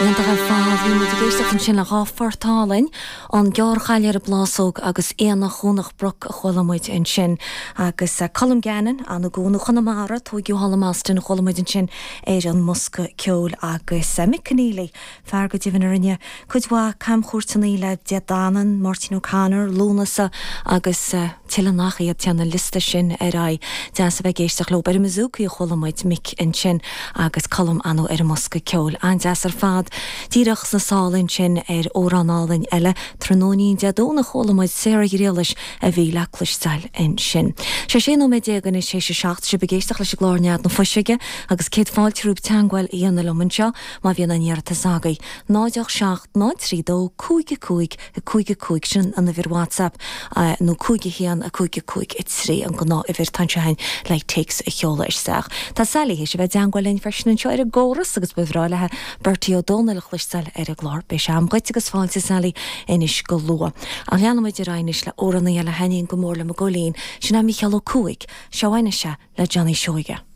Iontach ar fad. Bhí muid ag éisteacht ansin le dha phort álainn, An Gearrchaile ar an bPlásóg agus Aonach Dhomhnach Broc a chuala muid ansin. Agus Colm Gannon, ann i gCuan Chonamara, tóigeadh thall i mBoston, a chuala muid ansin ar an mbosca ceoil. Agus Mick Conneely, fear go deimhin a rinne cuid mhaith camchuairteanna le Dé Danann, Máirtín O'Connor, Lúnasa agus tuilleadh nach iad. Téann an liosta sin ar aghaidh. Deas a bheith ag éisteacht leo. Ar an mbouzouki a chuala muid Mick ansin agus Colm ann ar an mbosca ceoil. An-deas ar fad. Díreach sna sála ansin ar amhrán álainn eile, Tráthnóinín Dé Domhnaigh chuala muid Sarah Ghriallais a bhí le cloisteáil ansin. Sé 16 nóiméad anois théis a 7, sibh ag éisteacht leis an gclár Nead na Fuiseoige agus céad fáilte romhaibh teagmháil a dhéanamh liom anseo má bhíonn aon iarratas agaibh. 0 8 7 0 3 2 5 5 5 5, sin an uimhir WhatsApp, nó 5 1 5 5 3 an gnáth-uimhir atá anseo againn le téacs a sheoladh isteach. Tá Sally théis a bheith i dteangmháil linn freisin anseo ar an gcóras agus ba bhreá léi Bertie Ó Dónaill a chloisteáil ar an gclár. Beidh sé am dhuit agus fáilte Sally anois go luath. Ach leanfaidh muid ar aghaidh anois le amhránaí eile a thaitníonn go mór liom i gCóilín, sin é Mícheál Ó Cuaig. Seo anois é le Johnny Seoige.